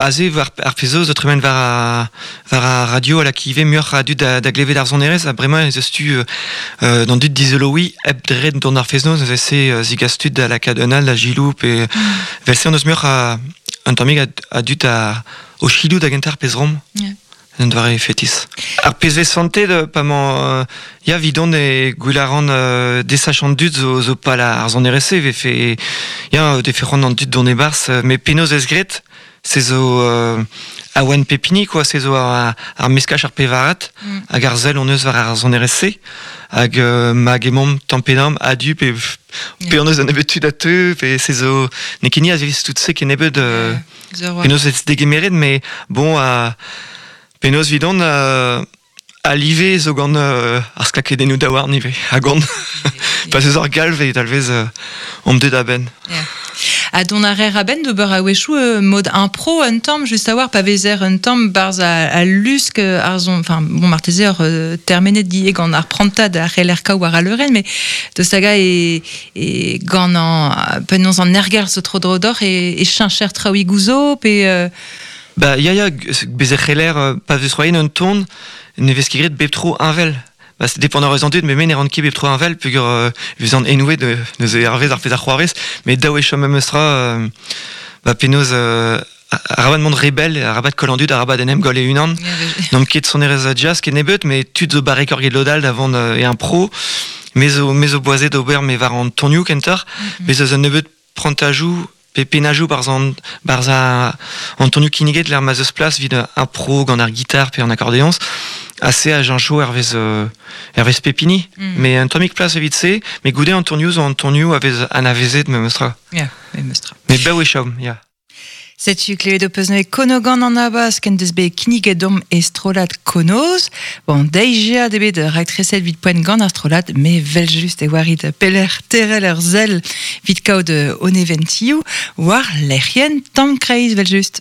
Aze war ar pezh zo tremen war ar, war ar radio a lak ivez muioc'h a dud da, da glevet ar sonerezh ha bremañ ez eus tu euh, d'an dud dizoloiñ hep dre dont ar fest-noz neuze se euh, zigas tud da lakaat un all da gilou pe mm. vel-se on eus muioc'h a, un tammig a, a dud a, o chilou da gentañ ar pezh rom. Yeah. Un doare fetis. Ar pezh vez santet pa mañ ya 'vidon e gwell a ran desach an dud zo, zo pal ar sonerezh-se vefe ya defe c'hoant an dud dont e-barzh met penaos ez graet se zo awen pep hini quoi se zo ar, ar meskaj ar pevarat mm. hag ar sell hon eus war ar sonerezh-se hag ma gemomp tamm pe damm a-du pe pe hon eus un nebeud tud a teu pe se zo n'eo ket ni a vez tout se kennebeut penaos ez degemeret mais bon a penaos 'vidon a live zo gant ar sklakedennoù daouarn ivez ha gant pa 'z eus ur galv e talvez omp deuet a-benn. Ha dont a rer a-benn d'ober a-wechoù mod impro un tamm, just a-walc'h pa vezer un tamm barzh al lusk ar son, enfin bon marteze ur termenet die gant ar prantad a c'heller kaout war al leurenn, mais deus hag e, e gant an penaos an ergerzh zo tro-dro deoc'h e, e cheñcher traoùigoù zo pe Ba ya ya bez e c'heller pa vez c'hoariet un ton ne vez ket graet bep tro heñvel. Ba se depend eus an dud, met me ne ran ket bep tro heñvel peogwir e vezan enouet neuze hervez ar pezh a c'hoarvez. Met dav eo chom memes tra ba penaos arabat mont re bell, arabat koll an dud, arabat en em goll e-unan. N'omp ket sonerezh jazz kennebeut, met tud zo barrek get lod all da vont e un pro. Me zo, me zo boazet d'ober me war an tonioù kentoc'h. Bez eus un nebeud prantajoù pe pennajoù barzh an, barzh an tonioù kinniget lec'h ma 'z eus plas evit ar pro gant ar gitar pe an akordeoñs. Ha se a cheñcho hervez, hervez pep hini. Mais un tammig plas evit se, met goude an tonioù zo an tonioù a vez anavezet memes tra. Ya, memes tra. Met bev e chom, ya. Setu klevet ho peus neuze Konogan an Abask en deus bet kinniget deomp e strollad Konoz. Bon, deiziad ebet raktreset evit poent gant ar strollad, met 'vel-just e oarit pelec'h terrel ur sell evit kaout o neventioù war lec'hienn Tamm Kreiz 'vel-just.